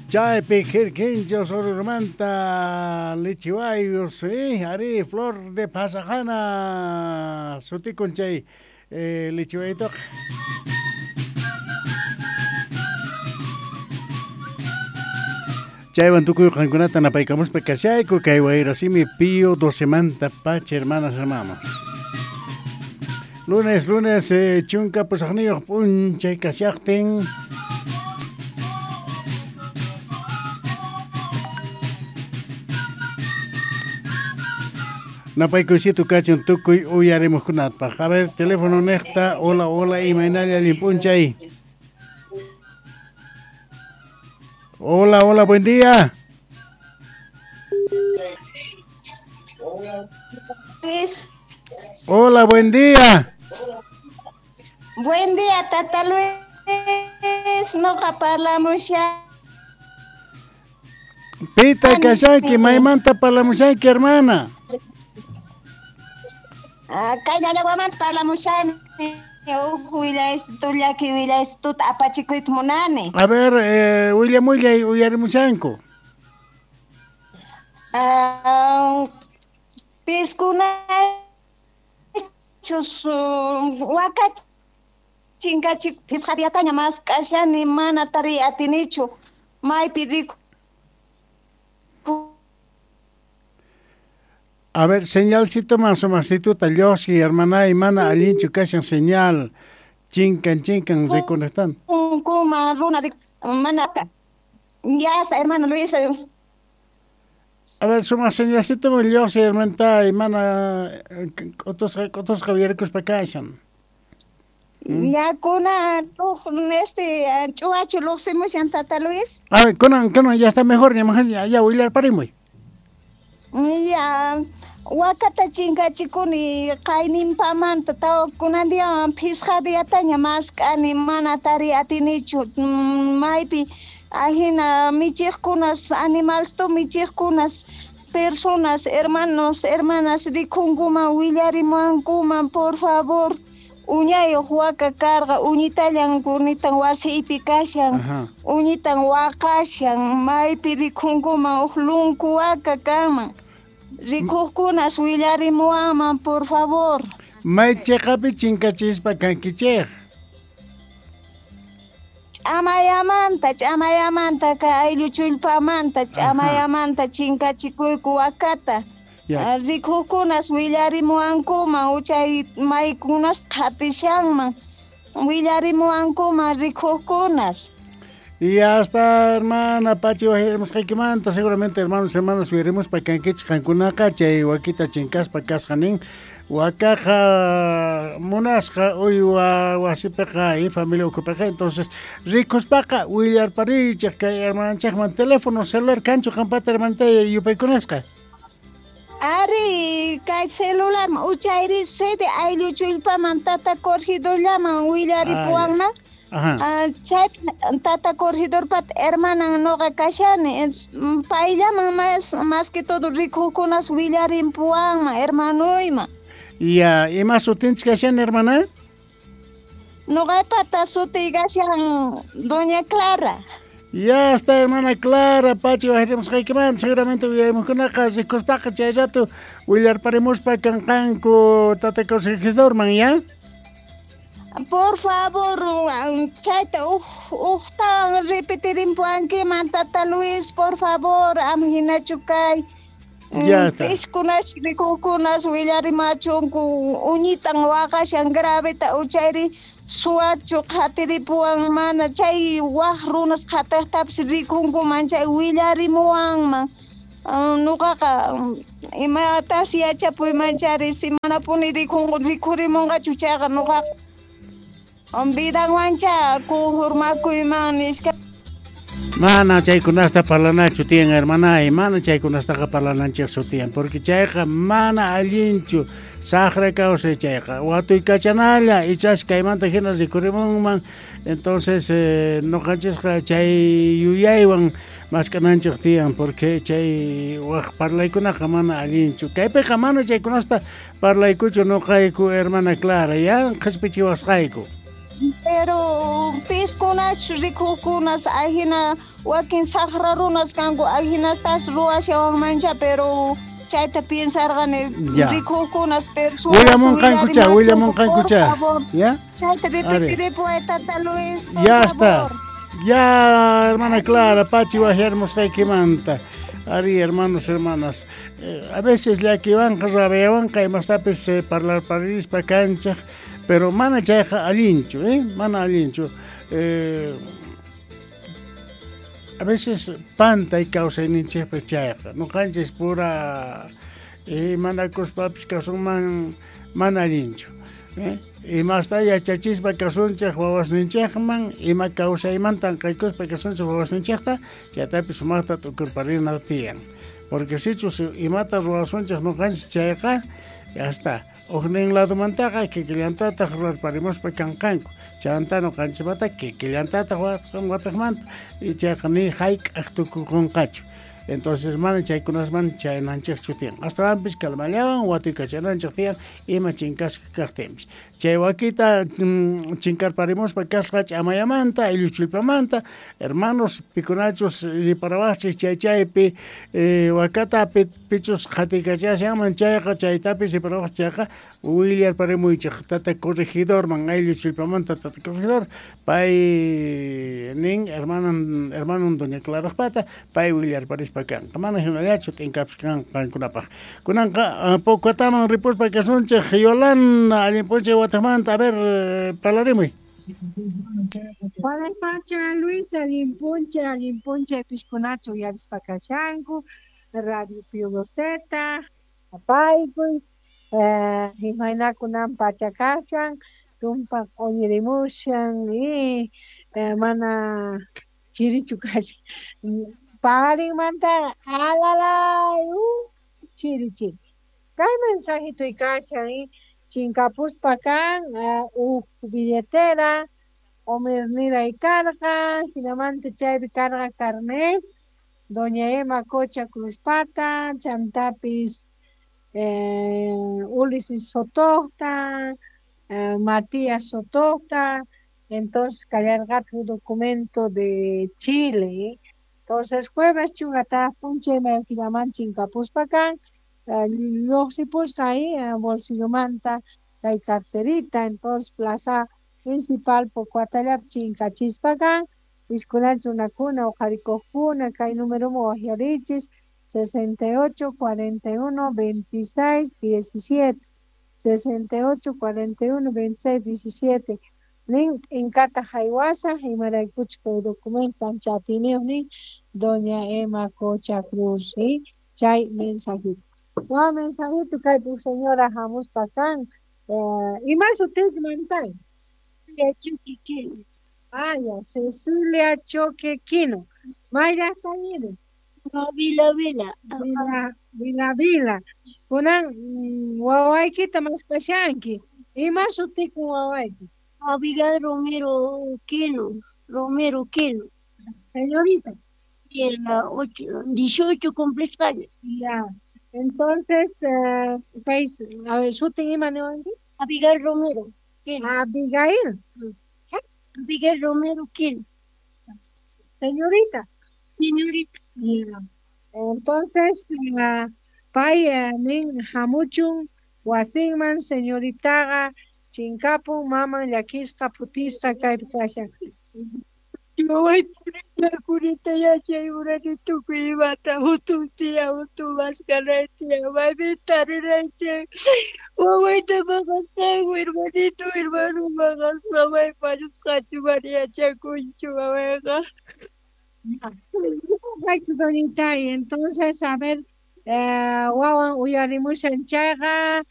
Chaypi kirkincho Sorurmanta lichiwayus, ari flor de pasajana sutikun chay lichiwaytoqa. Chaywan tukuy qankunata napaykamuspa kashayku kay wayrasimi Pío 12 manta pacha, hermanas, hermanos. Lunes, lunes, chunka pusaqniyuq p'unchay kashaqtin. Napaykuysito kachun tukuy uyarimuqkunapaq. A ver, teléfono niqta, hola, hola, imaynalla allin p'unchay. Hola, hola, buen día. Luis. Hola, buen día. Buen día, Tata Luis. Noqa parlamusha. Pita kashanki, maymanta parlamushanki, hermana. Kay llallawamanta parlamushani. Llaki willaystuta apachikuyta munani. A ver, willamullay uyarimushanku. Piskunachus waka chinkachik phisqa diataña mask'ashani mana tariy atinichu maypi riku. A ver, señalcito más o masituta lluqsi, hermana, y mana allinchu kashan señal. Chinkan, chinkan, reconectan. Kuma runa mana ya está, hermano Luis. A ver, suma señalcito lluqsi, hermana, y mana otros javiercos pa kashan. Ya kuna ch'uwachu lluqsimushan tata Luis. A ver, kunan ya está mejor, ya ya willarparimuy. Ya wakata chinkachikuni qayninpamanta tawa kunan diawan phisqa diataña mask'ani mana tariy atinichu maypi ahina michiqkunas animalsto michiqkunas personas hermanos hermanas rikhunkuman willarimuwankuman por favor. Uñayuq waka karqa uñitallan kunitan wasiypi kashan uñitan waqashan maypi rikhunkuman uq lunku waka kanman rikuqkunas willarimuwanman por favor. May chiqapi chinkachispa kankichik. Ch'amayamanta kay ayllu chullpamanta ch'amayamanta chinkachikuyku wakata. Rikuqkunas willarimuwankuman uchay maykunas qhatishanman willarimuwankuman rikuqkunas. Y hasta hermana Pachi wajirimusqaykimanta seguramente hermanos hermanas willarimuspa kankichik qankunaqa chay wakita chinkaspa kasqa nin wakaqa munasqa uywa wasipiqa y familia ukhupiqa. Entonces rikuspaqa willarparichik kay hermananchikman teléfono celular kanchu qampata hermanita yupaykunasqa. Ari, kay celular uchayri sede ayllu chullpaman tata corregidorllaman willaripuwanman. Chay tata corregidorpat hermanan noqa kashani payllaman más que todo rikuqkunas willarimpuwanman hermanuyman. Ya, ima sutinchik kashan hermana? Noqapata sutiy kashan Doña Clara. Ya está, hermana Clara, Pachi wajirimusqaykimanta seguramente uyarimuqkunaqa rikuspaqa chay rato willarparimuspa kanqanku tata corregidorman, ¿ya? Por favor, chayta uqtawan repetirimpuwankiman tata Luis, por favor, ama hinachu kay. Ya está. Pishkunas rikuqkunas willarimachunku uñitan waqashan graveta uchayri suwachu qhatiripuwan mana chay waq runas qhatiqtapis rikunkuman chay willarimuwanman. Nuqaqa imatas yachapuyman chari si manapuni rikhurimunqachu chayqa nuqaqa vidanwancha kunjurmakuyman nisqa. Mana chaykunasta parlanachu tiyan, hermana, y mana chaykunastaqa parlananchikchu tiyan, porque chayqa mana allinchu saqra kawsay chayqa watuykachanalla ichash kaymanta hina rikurimunman. Entonces nuqanchisqa chay yuyaywan mask'ananchik tiyan, porque chay waq parlaykunaqa mana allinchu. Kaypiqa mana chaykunasta parlaykuchu nuqayku, hermana Clara, ya qhispichiwasqayku. Pero piskunach rikuqkunas ajina wakin saqra runas kanku ajinastas ruwashawanmancha, pero chayta piensarqani rikuqkunas personas Willamunqankucha, willamunqankucha. ¿Ya? Chayta ripitiripuway, tata Luis, por Ya está. favor. Ya, hermana Clara, pachi wajyarmusqaykimanta. Ari, hermanos, hermanas. A veces llakiwanqa, rabiawanqa imastapis parlarparispa kanchaq, pero mana chayqa allinchu, ¿eh? Mana allinchu. A veces pantay kawsayninchikpi chayqa. Ñuqanchis pura manakuspapis kasunman mana allinchu. ¿Eh? Imasta yachachispa kasunchik wawasninchikman, ima kawsaymantan qaykuspa kasunchik wawasninchikta, chaytapis sumaqta t'ukurparina tiyan. Porque sichus imata ruwasunchik ñuqanchis chayqa, ya está. Ujnin ladomantaqa kikillantataq ruwarparimuspa kanqanku. Chanta ñuqanchikmanta kikillantataq wataqmanta y chayqa ni hayk'aq tukukunqachu. Entonces mana chaykunasman chayananchikchu tiyan. Astawanpis calmallawan watuykachananchik tiyan ima chinkasqa kaqtinpis. Chay wakita chinkarparimuspa kasqa ch'amayamanta, aylluchillpamanta, hermanos pikunachus riparawaqchik chay chaypi wakata pichus qhatiykachashanman chayqa chaytapis riparawaqchik chayqa willarparimuychik tata corregidorman aylluchillpamanta tata corregidor pay nin hermanon doña Clarajpata pay willarparispa kanqa mana hinallachu t'inkapis kanqankunapaq. Kunanqa Pocotaman ripuspa kasunchik Yolanda allin p'unchay wataqmanta, a ver, parlarimuy. Pacha Luis, allin p'unchay piskunachu uyarispa kashanku, Radio Pío Z, apaykuy, imaynakunan pacha kashan, tumpa q'uñirimushan y mana chirichu kashan. Paqarinmanta alalay, chiri chiri. Kay mensajito kashan y chinkapuspa kan uj billetera, Omer karqa, hinamanta chaypi karqa carnet, doña Emma Cocha Cruzpata, chantapis Ulises Sotocta, Matías Sotocta, entonces kallarqataq documento de Chile. Entonces jueves chugata p'unchay mayukillaman chinkapuspa kan, lluqsipusqa ahí bolsillomanta kay carterita, entonces plaza principal Pocoatallapi chinkachispa kan, piskunach runakuna uqharikuqkuna kay numeroman waqyarichis 68 41 26 17 68 41 26 17 nin t'inkata haywasaq imaraykuchus kay documento ancha atiyniyuq nin doña Emma Cocha Cruz, ¿sí? Chay mensajito. Wa mensajito kaypi señora hamuspa kan, ima sutiyki mamitay? Cecilia Choque Quino. Ah, ya, Cecilia Choque Quino. May llaqtayri? Vila Vila. Vila Vila Vila. Kunan wawaykita maskashanki. Ima sutikun wawayki? Abigail Romero Quino. Romero Quino. Señorita. Y 18 cumplisqaña. Ya. Entonces, a ver, sutin ima niwanki? Abigail Romero Quino. Abigail. Abigail Romero Quino. Señorita. Señorita. Ya. Entonces, pay nin hamuchun wasinman señoritaqa chinkapun maman llakisqa phutisqa kaypi kashan. Waway purita yachay urani tukuy imata hutun tiyan hutun maskanay tiyan maypi tariray tiyan wawayta maqasqanku hermanito hermano maqasqa may fallasqachu mana yachakunchu wawayqa. Doñita, y entonces, a ver, wawan uyarimushan chayqa